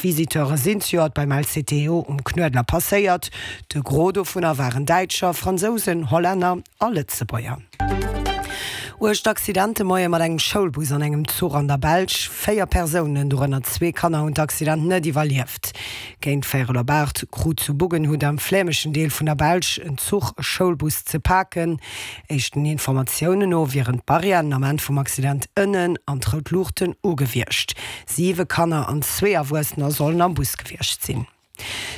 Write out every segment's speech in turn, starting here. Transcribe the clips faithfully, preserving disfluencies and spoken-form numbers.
Visiteure sinn zejoert beim LCTO um Knuedler passéiert. De Gros dovunner waren Däitscher, Fransousen, Hollänner a Lëtzebuerger. Uergt Accident de Moie mat engem Schoulbus an engem Zuch an der Belsch. Véier Persounen, dorënner zwee Kanner, hunn d'Accident net iwwerlieft. Géint véierel op aacht krut zu Buggenhout am flämeschen Deel vun der Belsch en Zuch e Schoulbus ze paken. Éischten Informatiounen no wieren d'Barrièren am Ament vum Accident ënnen an d'rout Luuchten u gewiescht. Siwe Kanner an zwee Erwuessener sollen am Bus gewiescht sinn.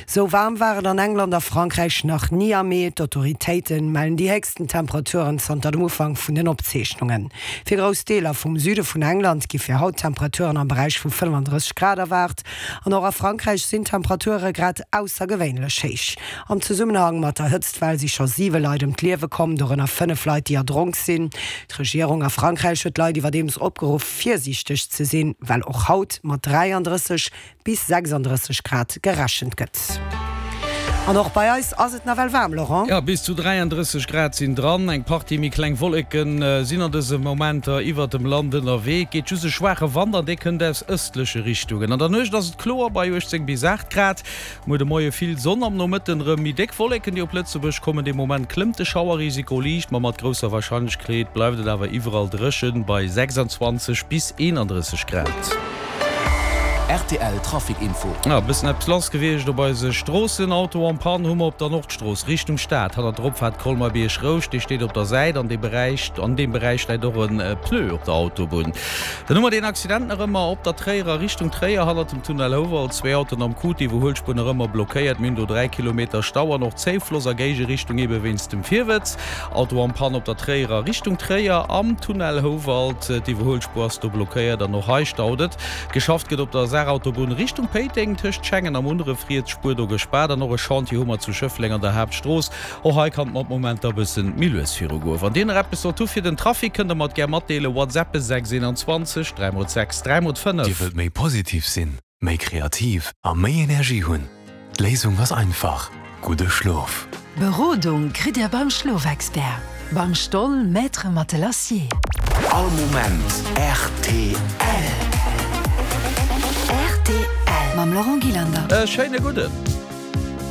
Sou waarm war et an England a Frankräich nach ni am Mee. D'Autoritéite mellen déi héchsten Temperaturen zanter dem Ufank vun den Opzeechnungen. Fir grouss Deeler vum Süde vun England gi fir haut Temperaturen am Beräich vu fënnefandrësseg Grad erwaart. An och a Frankräich sinn d'Temperature grad aussergewéinlech héich. Am Zesummenhang mat der Hëtztwell si scho siwe Leit ëm d'Liewe komm, dorënner fënnef Leit, déi erdronk sinn. D'Regierung a Frankräich huet d'Leit iwwerdeems opgeruff, virsiichteg ze sinn, well och haut mat dräiandrësseg bis sechsandrësseg Grad gerechent gëtt. An och bei eis ass et nawell waarm, Laurent. Jo, bis zu dräiandrësseg Grad sinn dran. Eng Partie méi kleng Wolleke sinn an dëse Momenter iwwert dem Land ënnerwee. Et geet just e schwaache Wand an dee kënnt aus ëstleche Richtungen. An der Nuecht ass et kloer bei uechtzéng bis aacht Grad. Muer de Moie vill Sonn, am Nomëtten erëm méi déck Wolleken, déi op Lëtzebuerg kommen. De Moment klëmmt de Schauerrisiko liicht, ma mat grousser Warscheinlechkeet bleift et awer iwwerall dréchen bei sechsanzwanzeg bis eenandrësseg Grad. Rtl Trafic Info. E bëssen eppes lass gewiescht op eise Stroossen. Auto en panne hu mer op der Nordstrooss Richtung Stad, hannert der Opfaart Colmer-Bierg-Rouscht. Dee steet op der Säit. An deem Beräich, an deem Beräich läit och e Pneu op der Autobunn. Dann hu mer deen Accident nach ëmmer op der Tréierer Richtung Tréier, hannert dem Tunnel Houwald. Zwee Autoen am Coup, d'Iwwerhuelspuer nach ëmmer blockéiert. Mir hunn do dräi Kilometer Stau an och Zéifloss a Géigerichtung ebe wéinst dem Virwëtz. Auto en panne op der Tréierer Richtung Tréier am Tunnel Houwald. D'Iwwerhuelspuer ass do blockéiert an och hei staut et. Geschafft gëtt op der Saarautobunn Richtung Péiteng tëscht Schengen a Munneref, riets Spuer do gespaart an och e Chantier hu mer zu Schëffleng an der Haaptstrooss. Och hei kann et mat Momenter bëssen méi lues viru goen. Wann dir nach eppes sollt hu fir den Trafic, kënnt der mer et gär matdeelen, WhatsAppen sechs eenanzwanzeg dräi mol sechs dräi mol fënnef. Dir wëllt méi positiv sinn, méi kreativ a méi Energie hunn? D'Léisung ass einfach, gudde Schlof! Berodung kritt Dir beim Schlofexpert, beim Stoll Maître Matelassier. All Moment rtl. Rtl mam Laurent Gillander. E schéine gudden.